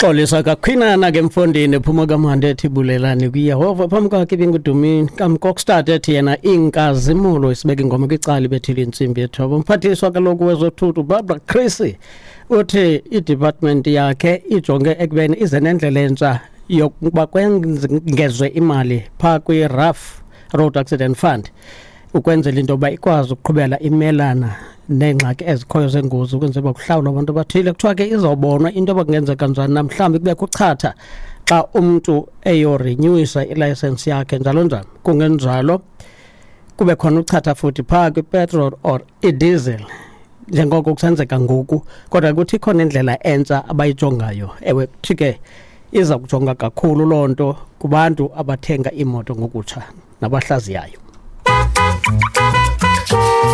Xolisa kakhwinana ke mfondini, phuma kamandi ethi bulelani kuYehova phambi kwakhe ibingudumini kamkokstad ethi yena inkazimulo. Isibeka ingoma kwicala ibethile intsimbi yethoba. Umphathiswa kaloku wezothutho Barbara Creecy uthi idepartment yakhe ijonge ekubeni ize nendlela entsha yokuba kwengezwe imali phaa kwi-RAF, Road Accident Fund, ukwenzela into yoba ikwazi ukuqhubela imelana neengxaki ezikhoyo zengozi, ukwenzela uba kuhlawulwa abantu abathile. Kuthiwa ke izawubonwa into yoba kungenzeka njani na, mhlawumbi kubekho uchatha xa umntu eyorenewisa ilayisensi yakhe, njalo njalo. Kungenjalo kube khona uchatha futhi phaa kwipetrol or idiesel njengoko kusenzeka ngoku. Kodwa kuthi ikhona indlela entsha abayijongayo. Ewe, kuthi ke iza kujonga kakhulu loo nto kubantu abathenga iimoto ngokutsha nabahlaziyayo.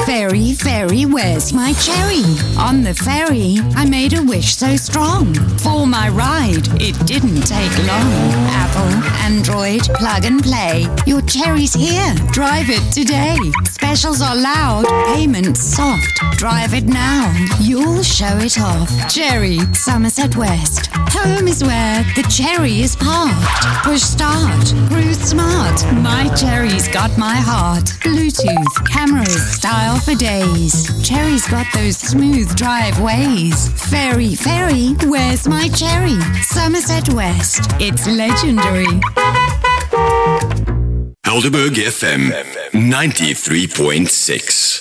Fairy, fairy, where's my cherry? On the ferry, I made a wish so strong. For my ride, it didn't take long. Apple, Android, plug and play. Your cherry's here. Drive it today. Specials are loud, payments soft. Drive it now. You'll show it off. Cherry, Somerset West. Home is where the cherry is parked. Push start. Cruise smart. My cherry's got my heart. Bluetooth, cameras, style for days. Cherry's got those smooth drive ways. Fairy, fairy, where's my cherry? Somerset West. It's legendary. Helderberg FM 93.6.